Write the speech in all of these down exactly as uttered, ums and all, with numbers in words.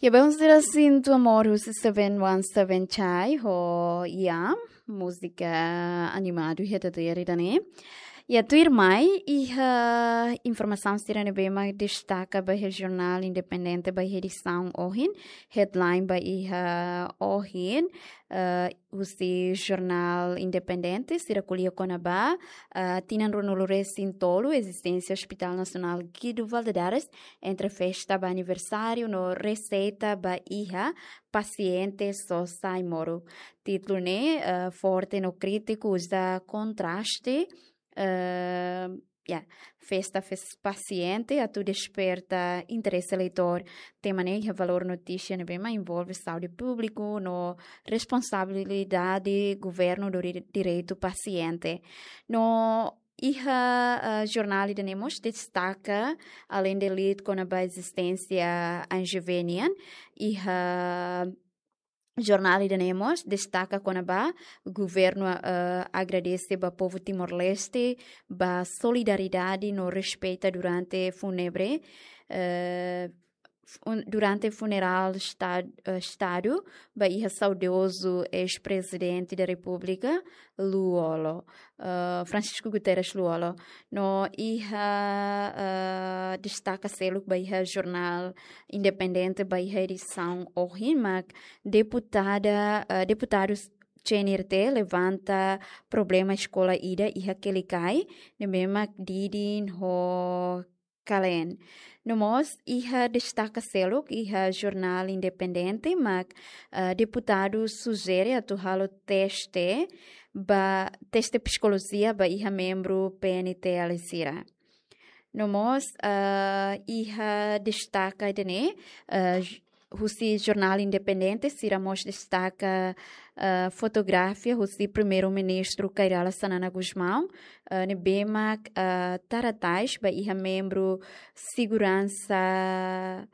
Ya, belun sira, Sinto Amor husi Seven One Seven Chai ho Yam, múzika animadu iha ita-nia rai ida-ne'e. Ya, tuirmai iha informasaun sira ne'ebé mak destaka ba iha jornál Independente ba iha edisaun ohin, headline ba iha ohin, eh, husi jornál Independente, sira ko'alia kona-ba, eh, tinan ruanulu-resin-tolu ezisténsia Hospital Nasionál Guido Valadares, entre festa ba aniversáriu no reseita ba iha pasiente sosa Aimoro. Títulu ne'e, eh, forte no krítiku, uza kontraste, eh, ya, festa fes pasiente atu desperta interese leitór. Tema ne'e iha valór notísia ne'ebé mak envolve saúde públiku no responsabilidade governu do di-, direitu pasiente. No iha, eh, jornál ida-ne'e mós destaka, além de lead kona-ba ezisténsia A N G V nian, iha jornál ida-ne'e mós destaka kona-ba governu, eh, agradese ba povu Timor-Leste ba solidariedade no respeita durante fúnebre, eh, fun-, durante funerál esta-, eh, estadu ba iha saudozu eis-prezidente da Repúblika, Lú-Olo, eh, Francisco Guterres Lú-Olo. No iha, eh, destaka seluk ba iha jornál Independente ba iha edisaun ohin mak deputada, eh, deputadu C N R T levanta problema eskola ida iha Quelicai, ne'ebé mak Didin ho Kalen. No mós iha destaka seluk iha jornál Independente mak, eh, deputadu sujere atu halo teste ba, teste psikolojia ba iha membru P N T L sira. No mós, eh, iha destaka ida-ne'e, eh, j-, husi jornál Independente, sira mós destaka, eh, fotografia husi Primeiru-Ministru Kay Rala Xanana Gusmão, eh, ne'ebé mak, eh, tara tais ba iha membru seguransa,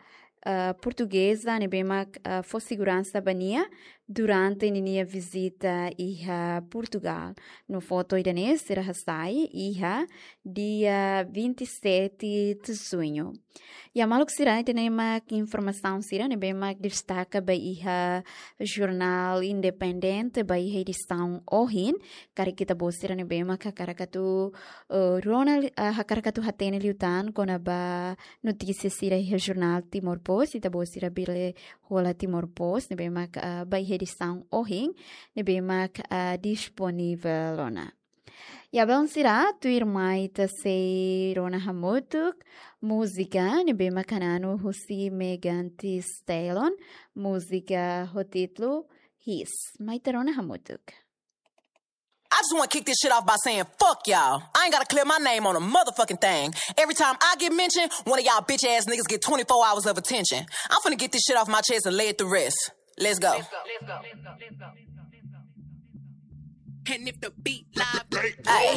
eh, portugeza, ne'ebé mak, eh, fó seguransa ba nia durante ninia vizita iha Portugal. No foto ida-ne'e sira hasai iha dia vinte e sete de junho. Ya, maluk sira, ida-ne'e mak informasaun sira ne'ebé mak destaka ba iha jornál Independente ba iha edisaun ohin. Karik ita-boot sira ne'ebé mak hakarak atu, eh, rona, eh, hakarak atu hatene liután kona-ba notísia sira iha jornál Timor Post, ita-boot sira bele hola Timor Post ne'ebé mak, eh, ba iha edisaun ohin, ne'ebé mak, eh, disponivel ona. Ya, belun sira, tuirmai ita sei rona hamutuk múzika ne'ebé mak hananu husi Megan Thee Stallion, múzika ho títulu His. Mai ita rona hamutuk. I just wanna kick this shit off by saying, "Fuck y'all." I ain't gotta clear my name on a motherfucking thing. Every time I get mentioned, one of y'all bitch ass niggas get twenty-four hours of attention. I'm finna get this shit off my chest and lay it to rest. Let's go. And if the beat live, hey,